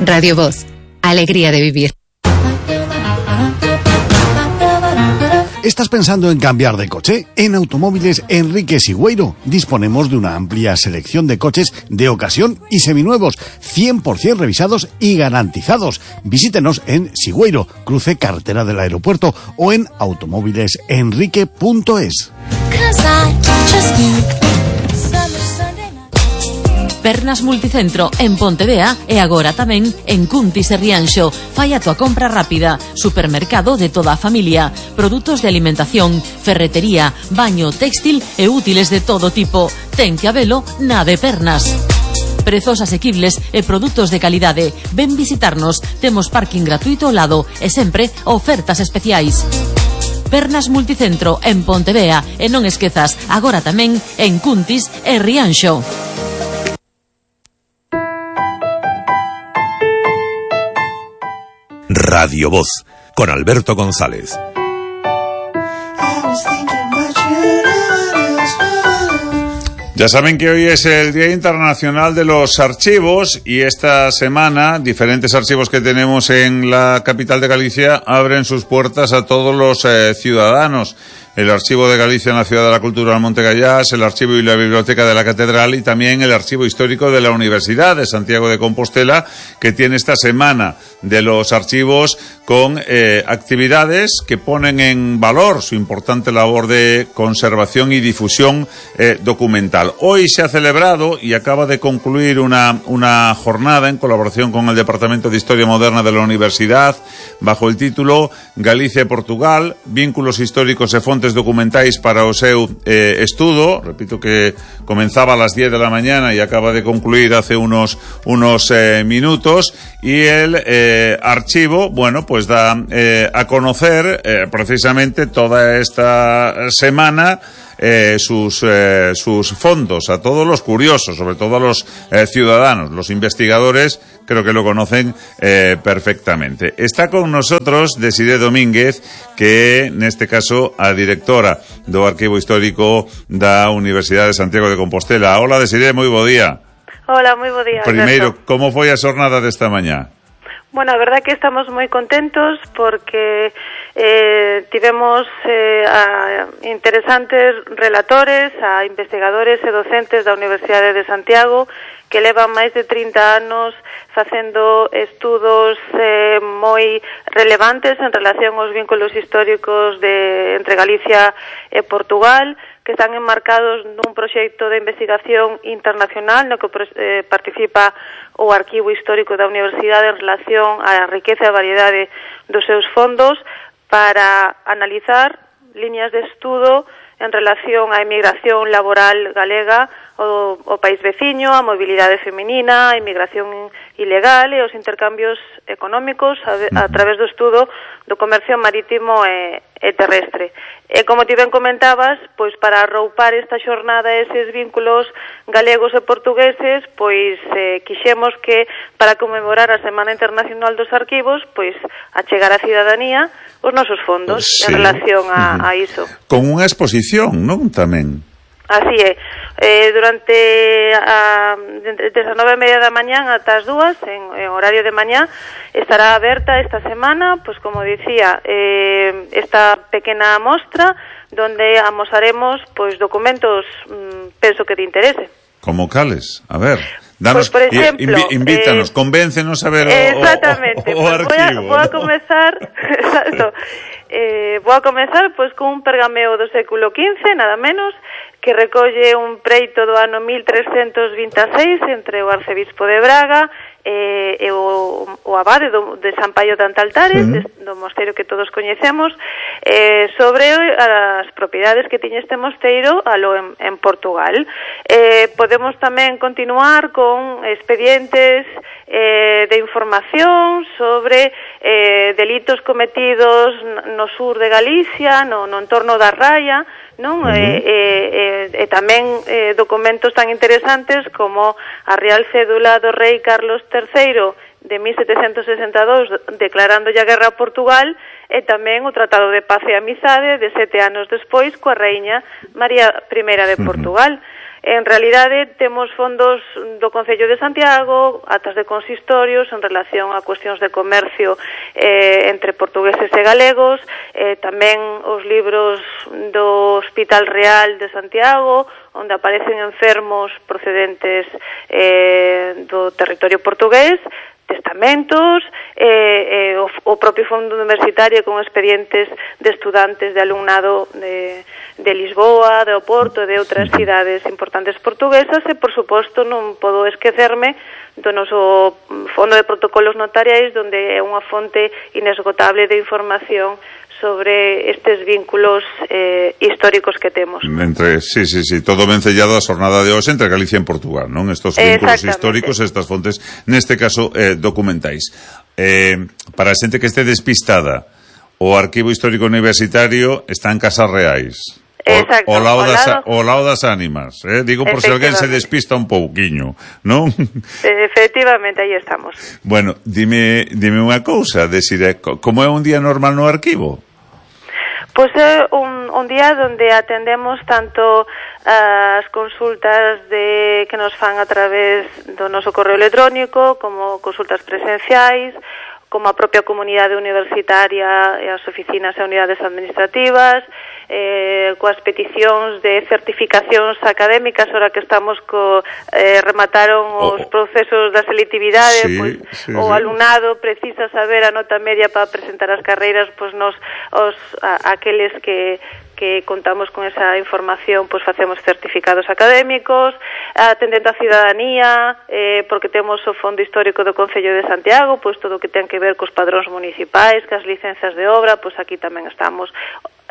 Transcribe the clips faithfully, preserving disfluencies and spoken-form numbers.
Radio Voz, alegría de vivir. ¿Estás pensando en cambiar de coche? En Automóviles Enrique Sigüeiro disponemos de una amplia selección de coches de ocasión y seminuevos, cien por ciento revisados y garantizados. Visítenos en Sigüeiro, cruce carretera del aeropuerto, o en automóviles enrique punto es. Pernas Multicentro en Pontevea e agora tamén en Cuntis e Rianxo. Fai a tua compra rápida. Supermercado de toda a familia. Produtos de alimentación, ferretería, baño, textil e útiles de todo tipo. Ten que habelo na de Pernas. Prezos asequibles e produtos de calidade. Ven visitarnos. Temos parking gratuito ao lado e sempre ofertas especiais. Pernas Multicentro en Pontevea e non esquezas, agora tamén en Cuntis e Rianxo. Radio Voz, con Alberto González. Ya saben que hoy es el Día Internacional de los Archivos y esta semana diferentes archivos que tenemos en la capital de Galicia abren sus puertas a todos los eh, ciudadanos. El Archivo de Galicia en la Ciudad de la Cultura del Monte Gallás, el Archivo y la Biblioteca de la Catedral y también el Archivo Histórico de la Universidad de Santiago de Compostela, que tiene esta semana de los archivos con eh, actividades que ponen en valor su importante labor de conservación y difusión eh, documental. Hoy se ha celebrado y acaba de concluir una, una jornada en colaboración con el Departamento de Historia Moderna de la Universidad bajo el título Galicia e Portugal, vínculos históricos e fontes documentais para o seu eh, estudo. Repito que comenzaba a las diez de la mañana y acaba de concluir hace unos, unos eh, minutos, y el eh, archivo, bueno, pues da eh, a conocer eh, precisamente toda esta semana Eh, sus, eh, sus fondos a todos los curiosos, sobre todo a los eh, ciudadanos. Los investigadores creo que lo conocen eh, perfectamente. Está con nosotros Desiré Domínguez, que neste caso a directora do Arquivo Histórico da Universidade de Santiago de Compostela. Hola, Desiré, moi bo día. Hola, moi bo día, Primeiro, Alberto. como foi a xornada desta mañá? Bueno, a verdade que estamos moi contentos porque eh, tivemos eh, a interesantes relatores, a investigadores e docentes da Universidade de Santiago que levan máis de trinta anos facendo estudos eh, moi relevantes en relación aos vínculos históricos de entre Galicia e Portugal, que están enmarcados nun proxecto de investigación internacional no que eh, participa o Arquivo Histórico da Universidade en relación á riqueza e variedade dos seus fondos para analizar liñas de estudo en relación á emigración laboral galega ao, ao país veciño, a mobilidade feminina, a inmigración ilegal e os intercambios económicos a, a través do estudo do comercio marítimo e, e terrestre. E como ti ben comentabas, pois para arroupar esta xornada eses vínculos galegos e portugueses, pois eh, quixemos que para conmemorar a Semana Internacional dos Arquivos, pois achegar á cidadanía os nosos fondos sí. en relación a, a iso. Con unha exposición, non? Tamén. Así é. Eh, durante a, desde as nove e media da mañán ata as dúas, en, en horario de mañá, estará aberta esta semana, pues como dicía, eh, esta pequena mostra donde amosaremos pues documentos, mmm, penso que te interese. Como cales? A ver, danos, pues por ejemplo, invi, invítanos, eh, convéncenos a ver o, exactamente, o, o, o pues arquivo. Voy a, voy a comezar, exacto, eh, voy a comezar pues con un pergameo do século quince, nada menos, que recolle un preito do ano mil trescentos vinte e seis entre o arcebispo de Braga e, e o, o abade do, de San Paio de Antaltares, sí. de, do mosteiro que todos coñecemos, eh, sobre as propiedades que tiña este mosteiro alo en, en Portugal. Eh, podemos tamén continuar con expedientes eh, de información sobre eh, delitos cometidos no sur de Galicia, no, no entorno da Raya, non? Uh-huh. E, e, e, e tamén eh, documentos tan interesantes como a Real Cédula do Rei Carlos terceiro de mil setecentos sesenta e dous declarando a guerra a Portugal, e tamén o Tratado de Paz e Amizade de sete anos despois coa Raíña María I de Portugal. Uh-huh. En realidade, temos fondos do Concello de Santiago, atas de consistorios en relación a cuestións de comercio eh, entre portugueses e galegos, eh, tamén os libros do Hospital Real de Santiago, onde aparecen enfermos procedentes eh, do territorio portugués, testamentos, eh, eh, o, o propio fondo universitario con expedientes de estudantes de alumnado de, de Lisboa, de Oporto e de outras cidades importantes portuguesas, e, por suposto, non podo esquecerme do noso fondo de protocolos notariais, onde é unha fonte inesgotable de información sobre estes vínculos eh, históricos que temos. Entre, sí, sí, sí, todo vencellado a xornada de hoxe entre Galicia e Portugal, non? Estos vínculos históricos, estas fontes, neste caso, eh, documentais. Eh, para a xente que este despistada, o Arquivo Histórico Universitario está en Casas Reais. Exacto, o, o, lao das, lado... o lao das ánimas, eh? Digo por se alguén se despista un pouquiño, non? Efectivamente, aí estamos. Bueno, dime, dime unha cousa, Desiré, como é un día normal no arquivo? Pois é un, un día onde atendemos tanto as consultas de que nos fan a través do noso correo electrónico, como consultas presenciais, como a propia comunidade universitaria e as oficinas e unidades administrativas, eh, coas peticións de certificacións académicas, ora que estamos co eh, remataron os oh, procesos da selectividade, sí, pois sí, o sí. alumnado precisa saber a nota media para presentar as carreiras, pois nos os a, aqueles que que contamos con esa información, pois facemos certificados académicos, atendendo a cidadanía, eh, porque temos o Fondo Histórico do Concello de Santiago, pois todo o que ten que ver cos padróns municipais, cas licencias de obra, pois aquí tamén estamos.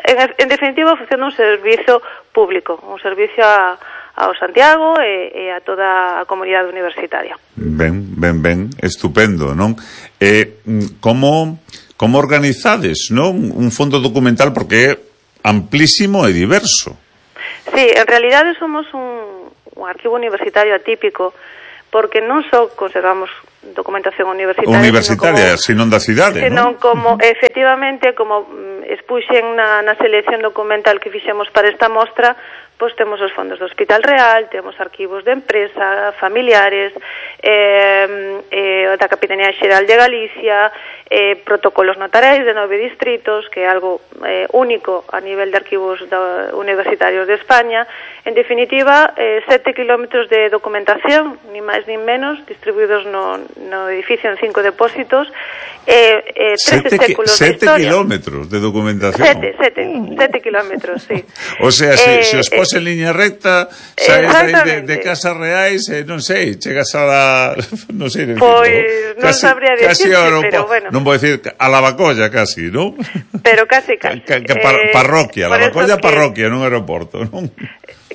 En, en definitiva, facendo un servizo público, un servicio a, ao Santiago e, e a toda a comunidade universitaria. Ben, ben, ben, estupendo, non? Eh, como, como organizades, non? Un fondo documental, porque é amplísimo e diverso. Sí, en realidade somos un, un arquivo universitario atípico, porque non só conservamos documentación universitaria, universitaria, sino da cidade, senón non? como, efectivamente, como expuxen na, na selección documental que fixemos para esta mostra, pois temos os fondos do Hospital Real, temos arquivos de empresa, familiares, eh, eh, da Capitanía Xeral de Galicia, eh, protocolos notariais de nove distritos, que é algo eh, único a nivel de arquivos da, universitarios de España. En definitiva, eh, sete kilómetros de documentación, ni máis ni menos, distribuídos no, no edificio en cinco depósitos, eh, eh, trece séculos de historia. Sete kilómetros de documentación? Sete, sete, sete kilómetros, sí. O sea, se, eh, se os pos en liña recta, saes de, de Casas Reais, eh, non sei, chegas a la... non sei, pois non sabría decirte, pero bueno. Non vou decir a Lavacolla casi, non? Pero casi, casi. Que, que par, eh, parroquia, Lavacolla que... parroquia, non aeroporto, non?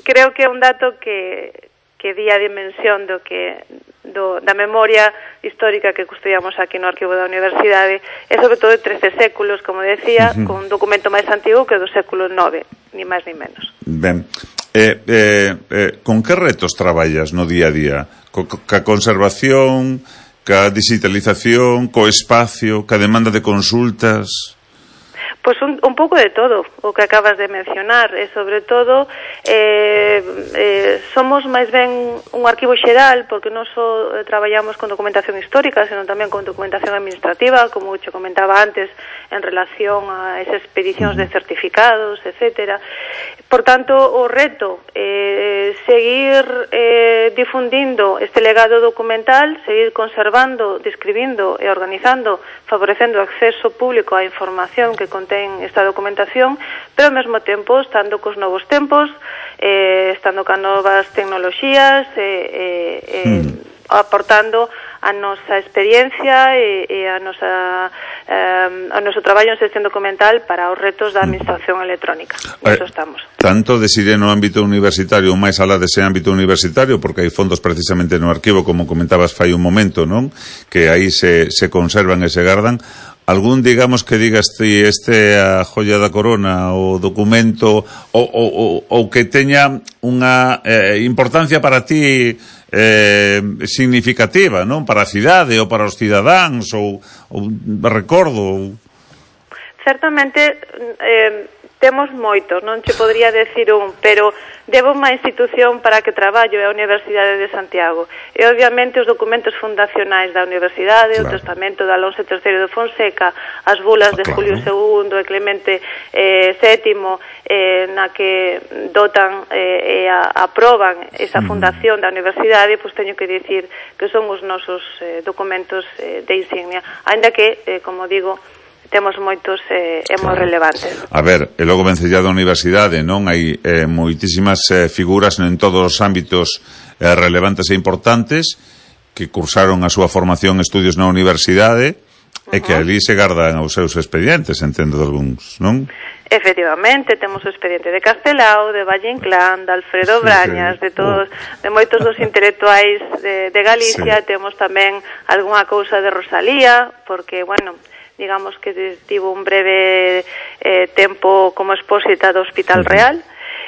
Creo que é un dato que, que di a dimensión do que do, da memoria histórica que custodiamos aquí no arquivo da universidade, e sobre todo de trece séculos, como decía, uh-huh. con un documento máis antigo que do século nove, ni máis ni menos. Ben, eh, eh, eh, con que retos traballas no día a día? Co, ca conservación, ca digitalización, co espacio, ca demanda de consultas? Pois un, un pouco de todo, o que acabas de mencionar, e sobre todo eh, eh, somos máis ben un arquivo xeral, porque non só eh, traballamos con documentación histórica, senón tamén con documentación administrativa, como che comentaba antes, en relación a esas expedicións de certificados, etcétera. Por tanto, o reto é eh, seguir eh, difundindo este legado documental, seguir conservando, describindo e organizando, favorecendo o acceso público á información que contén esta documentación, pero ao mesmo tempo estando cos novos tempos, eh, estando con novas tecnoloxías, eh, eh, mm. aportando a nosa experiencia e, e a nosa eh, o noso traballo en xestión documental para os retos da administración electrónica. Nisso estamos. Tanto decidir no ámbito universitario, máis alá dese ámbito universitario, porque hai fondos precisamente no arquivo, como comentabas fai un momento, non? Que aí se, se conservan e se gardan. Algún, digamos, que digas ti este a joia da corona, o documento, ou, ou, ou que teña unha eh, importancia para ti eh, significativa, non? Para a cidade ou para os cidadáns, ou, ou recordo. Ou... Certamente, eh, Temos moitos, non che podría decir un, pero debo unha institución para que traballo é a Universidade de Santiago. E, obviamente, os documentos fundacionais da Universidade, claro. O testamento de Alonso terceiro de Fonseca, as bulas de claro. Julio segundo e Clemente eh, sétimo, eh, na que dotan eh, e a, aproban esa fundación da Universidade, pois teño que dicir que son os nosos eh, documentos eh, de insignia. Ainda que, eh, como digo, temos moitos eh, e moi relevantes. A ver, e logo vencella da universidade, non? Hai eh, moitísimas eh, figuras en todos os ámbitos eh, relevantes e importantes que cursaron a súa formación e estudios na universidade uh-huh. e que ali se gardan os seus expedientes, entendo de algúns, non? Efectivamente, temos o expediente de Castelao, de Valle Inclán, de Alfredo Brañas, sí, sí. de todos, de moitos dos intelectuais de, de Galicia, sí. Temos tamén algunha cousa de Rosalía, porque, bueno, digamos que tivo un breve eh, tempo como expósita do Hospital Real.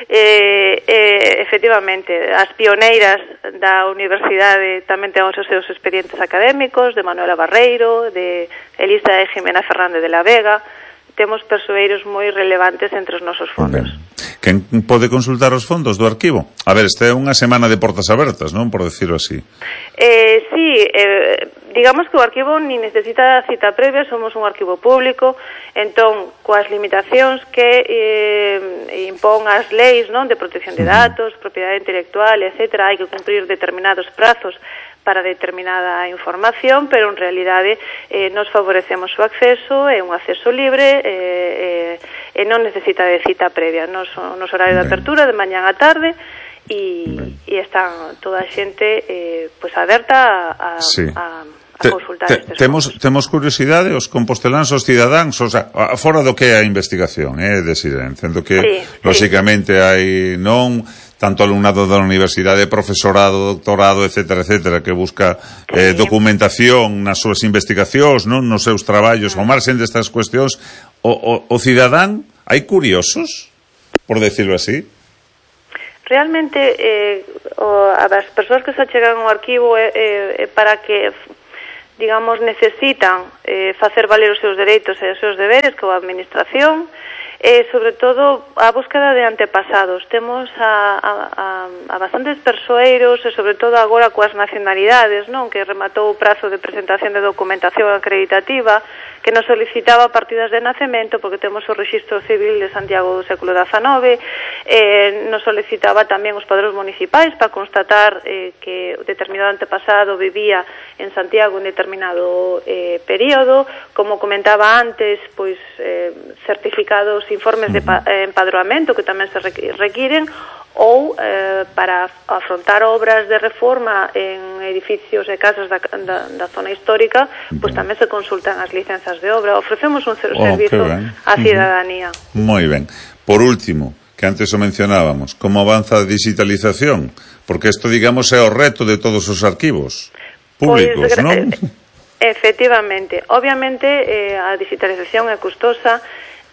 Eh, eh, efectivamente, as pioneiras da universidade tamén ten os seus expedientes académicos, de Manuela Barreiro, de Elisa e Jimena Fernández de la Vega. Temos persoeiros moi relevantes entre os nosos fondos. Okay. Quen pode consultar os fondos do arquivo? A ver, esta é unha semana de portas abertas, non? Por decirlo así. Eh, sí, eh, digamos que o arquivo ni necesita cita previa, somos un arquivo público, entón, coas limitacións que eh, impón as leis, non, de protección de datos, propiedade intelectual, etcétera, hai que cumprir determinados prazos para determinada información, pero en realidade eh, nos favorecemos o acceso, é un acceso libre eh, eh, e non necesita de cita previa. Nos, nos horario de apertura, de mañán a tarde, e, e están toda a xente eh, pues aberta a, a, sí. a, a te, consultar te, estes temos, temos curiosidade, os composteláns, os cidadáns, o sea, fora do que é a investigación, eh, decir, entendo que sí, lóxicamente sí. hai non tanto alumnado da universidade, profesorado, doctorado, etcétera, etcétera, que busca eh, documentación nas súas investigacións, non, nos seus traballos, ao marxen destas cuestións. O, o, o cidadán, hai curiosos, por decirlo así? Realmente, eh, o, as persoas que se achegan ao arquivo é eh, eh, para que, digamos, necesitan eh, facer valer os seus dereitos e os seus deberes coa administración, e, sobre todo, a búsqueda de antepasados. Temos a, a, a, a bastantes persoeiros, e, sobre todo, agora coas nacionalidades, non? Que rematou o prazo de presentación de documentación acreditativa, que nos solicitaba partidas de nacemento, porque temos o Rexistro Civil de Santiago do século dezanove, eh, nos solicitaba tamén os padróns municipais para constatar eh, que determinado antepasado vivía en Santiago en determinado eh, período, como comentaba antes, pois eh, certificados, informes de empadroamento que tamén se requiren, ou eh, para afrontar obras de reforma en edificios e casas da, da, da zona histórica, pois tamén se consultan as licenzas de obra. Ofrecemos un oh, servizo á cidadanía. Uh-huh. Moi ben. Por último, que antes o mencionábamos, como avanza a digitalización? Porque isto, digamos, é o reto de todos os arquivos públicos, pues, non? Efectivamente. Obviamente, eh, a digitalización é custosa,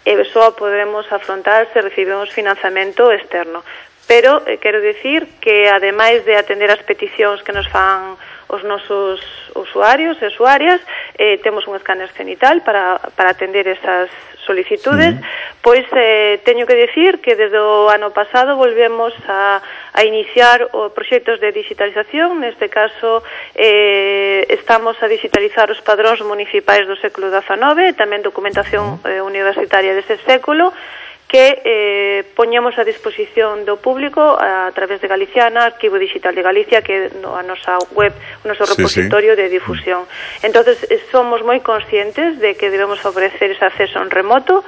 e só podemos afrontar se recibimos financiamento externo. Pero eh, quero dicir que, ademais de atender as peticións que nos fan os nosos usuarios e usuarias, eh, temos un escáner cenital para, para atender esas solicitudes, mm. pois eh, teño que dicir que desde o ano pasado volvemos a, a iniciar o proxectos de digitalización. Neste caso eh, estamos a digitalizar os padróns municipais do século dezanove e tamén documentación eh, universitaria dese século, que eh, poñemos a disposición do público a, a través de Galiciana, Arquivo Digital de Galicia, que é no, a nosa web, o noso repositorio sí, sí. de difusión. Entonces somos moi conscientes de que debemos favorecer ese acceso en remoto,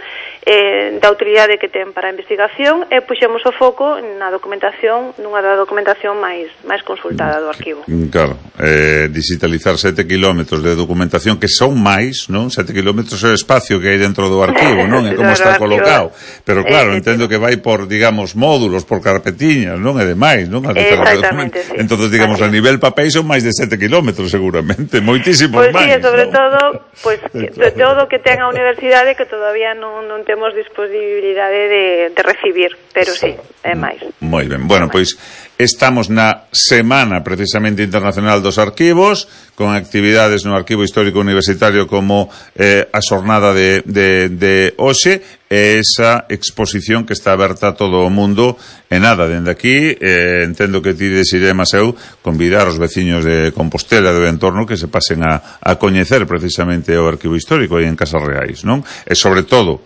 eh, da utilidade que ten para a investigación, e puxemos o foco na documentación, nunha da documentación máis máis consultada do arquivo. Claro, eh, digitalizar sete kilómetros de documentación, que son máis, non? Sete kilómetros é o espacio que hai dentro do arquivo, non? É como está colocado. Pero claro, eh, entendo que vai por, digamos, módulos, por carpetiñas, non? E demais, non? Exactamente, sí. Entonces, digamos, a nivel papel son máis de sete kilómetros, seguramente, moitísimos pues máis. Pois sí, sobre ¿no? todo, pois, pues, que, todo que ten a universidade que todavía non, non temos disponibilidade de, de recibir, pero sí, é máis. Moi ben, bueno, pois estamos na Semana precisamente Internacional dos Arquivos, con actividades no Arquivo Histórico Universitario como eh, a xornada de, de, de hoxe, esa exposición que está aberta a todo o mundo e nada, dende aquí eh, entendo que ti desiremos eu convidar os veciños de Compostela e do entorno que se pasen a, a coñecer precisamente o arquivo histórico aí en Casas Reais, non? E sobre todo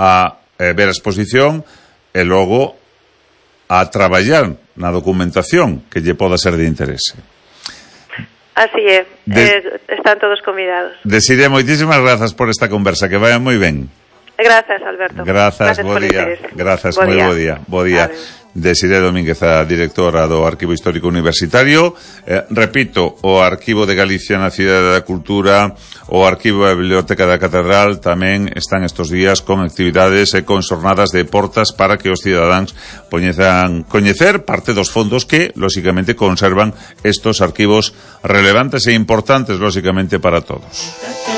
a eh, ver a exposición e logo a traballar na documentación que lle poda ser de interese. Así é, de... eh, están todos convidados. Desiré, moitísimas grazas por esta conversa, que vaya moi ben. Grazas, Alberto. Grazas, bo día. Grazas, moi bo día. Bo día. Desiré Domínguez, a directora do Arquivo Histórico Universitario. Eh, repito, o Arquivo de Galicia na Cidade da Cultura, o Arquivo da Biblioteca da Catedral tamén están estos días con actividades e con xornadas de portas para que os cidadáns poñezan coñecer parte dos fondos que, lóxicamente, conservan estos arquivos relevantes e importantes, lóxicamente, para todos.